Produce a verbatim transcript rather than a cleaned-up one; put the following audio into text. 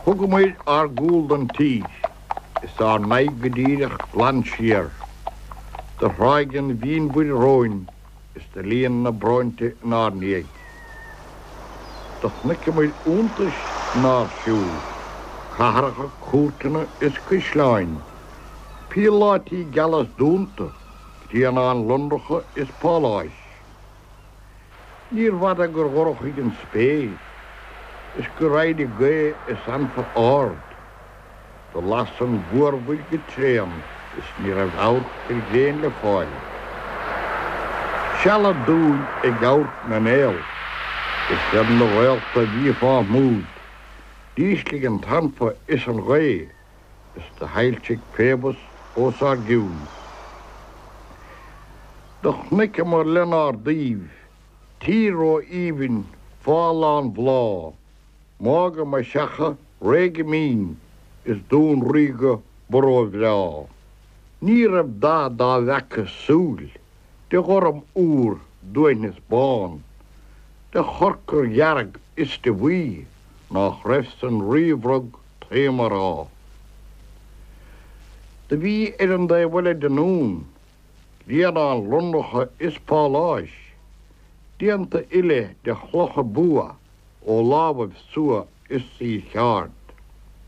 Thugamair ár gcúl don tír is ár n-aghaidh go díreach glan siar. Do thráigh an mhínmhuir romhainn is do líon na bróinte inár ndiaidh. Do chonaiceamair iontais inár siúl, cathracha, cúirteanna is caisleáin, píoláití geala is dúnta, grianáin lonracha is páláis. Níorbh fhada gur dhorchaigh an spéir is gur éirigh gaoth is anfa ard. Do las an mhórmhuir go tréan is ní raibh amharc ar ghréin le fáil. Seal dúinn ag amharc na néal is ar na réalta a bhí fá smúid. D'ísligh an t-anfa is an ghaoth is do shoilsigh Phoebus os ár gcionn. Do chonaiceamair lenár dtaobh tír ró-aoibhinn fá lán bhláth, Mágha Maigh Seacha réidh go mín is dún ríoga ba róbhreá. Ní raibh dath dá bhfeaca súil, de ghorm úr d'uaithneas bán, de chorcair dhearg is de bhuí nach raibh san ríbhreag taom a rá. Do bhí ar an dtaobh eile den ndún, grianáin lonracha is páláis, déanta uile de chlocha bua ó lámhaibh suaith is saorcheard.